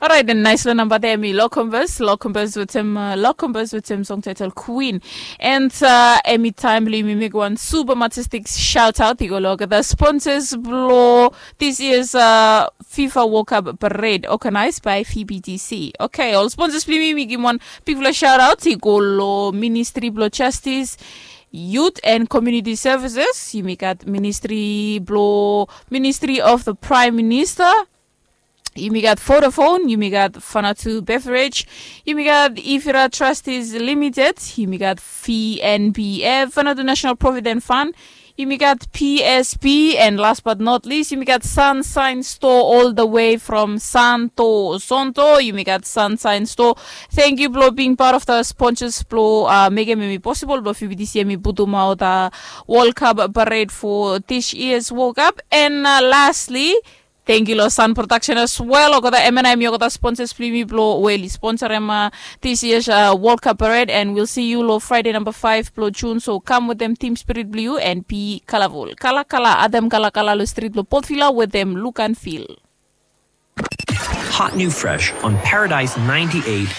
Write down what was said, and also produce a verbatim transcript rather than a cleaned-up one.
Orait, en naisfala namba de em i Lokumbas, Lokumbas wetem uh, Lokumbas wetem song title Queen. And uh, em i taim blong yumi mekim wan super majestic shout out i go long the sponsors blong this year's uh, FIFA World Cup parade organized by F B T C. Okay, ol sponsors blong yumi, yumi givim wan bigfala shout out i go long Ministry blong Justice, Youth and Community Services. Yumi gat Ministry blong Ministry of the Prime Minister. Yumi gat Vodafone, yumi gat Fanatu Beverage, yumi gat Ifira Trustees Limited, yumi gat V N B F, Fanatu National Provident Fund, yumi gat P S P, and last but not least, yumi gat Sunshine Store all the way from Santo Sonto. Yumi gat Sunshine Store. Thank you blong being part of the sponsors blong uh, mekim em i possible blong F B T C em i putum out uh, World Cup parade for this year's World Cup. And uh, lastly, thank you long Sun Production as well. Olgeta M N I mi olgeta sponsors blong yumi blong we oli sponsor em uh, this year's uh, World Cup parade, and we'll see you long Friday number five blong June. So come with them, team spirit blong you, and be colorful. Kala kala, adem kala kala long street blong Port Vila with them look and feel. Hot new fresh on Paradise ninety-eight